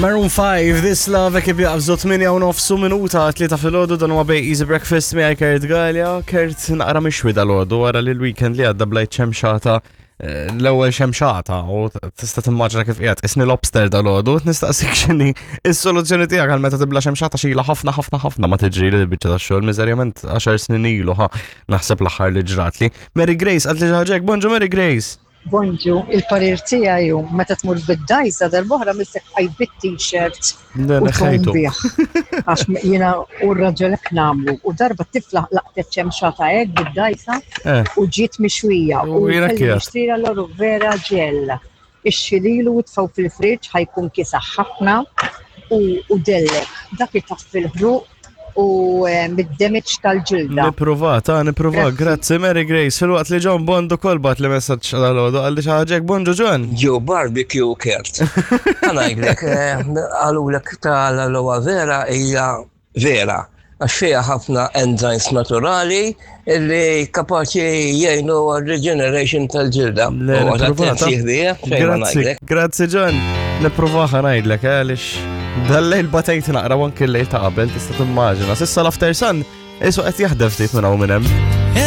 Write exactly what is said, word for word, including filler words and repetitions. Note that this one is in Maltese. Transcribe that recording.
Maroon five, This Love, kif jaqbżu tmienja u nofsu minuta tlieta filgħodu, dan huwa Bay Easy Breakfast miegħi Kurt Galea. Kurt naqra mixwi dalgħodu wara li l-weekend li għadda blajt xemxata, eh, l-ewwel xemxata, u tista' timmaġina kif qiegħed isni lobster dalgħodu. Nistaqsik x'inhi is-soluzzjoni tiegħek għal meta tibla xemxata. Xila ħafna ħafna ħafna ma tiġri li biċċa tax-xogħol, miżerjament għaxar snin ilu ħa naħseb l-aħħar li ġratli. Mary Grace għad li ġaġek, bonġu Mary Grace. Bonġu, il-parir tiegħi hu meta tmur bid-dgħajsa darb'oħra missek għaj bit-t-shirt Le, u neħħejtu. tqum bih. Għax jiena u r-raġel hekk nagħmlu. U darba tifla laqtet xemxata hekk bid-dgħajsa Eh. u ġiet mixwija. U U jiena kelli kienet. nixtrila l-aloe vera gel. Ixxililu u tfaw fil-friġġ, ħa jkun kiesaħ ħafna u u dellek. Dak itaffi fil-ħruq u eh, mid-damage tal-ġilda. Nipprova, ta' nipprova, grazzi Mary Grace. Filwaqt li John Bond ukoll bagħat li messaġġ dalgħodu għalli xi ħaġa, bonġu John. Ġew barbecue, Kurt. Ħa ngħidlek, għalulek tal-aloe vera hija vera. Għax fiha ħafna enzymes naturali illi kapaċi jgħinu għal regeneration tal-ġilda. Le, U għad nipprova, ta' attenti ħbija, fejn ma Grazzi, ngħidlek. grazzi John. Nipprova, ħa ngħidlek, eh, għaliex dal-lejl batejt naqra u anke l-lejl ta' qabel, tista' timmaġina. S'issa l-after sun isu qed jaħdem ftit minn hawn minn hemm.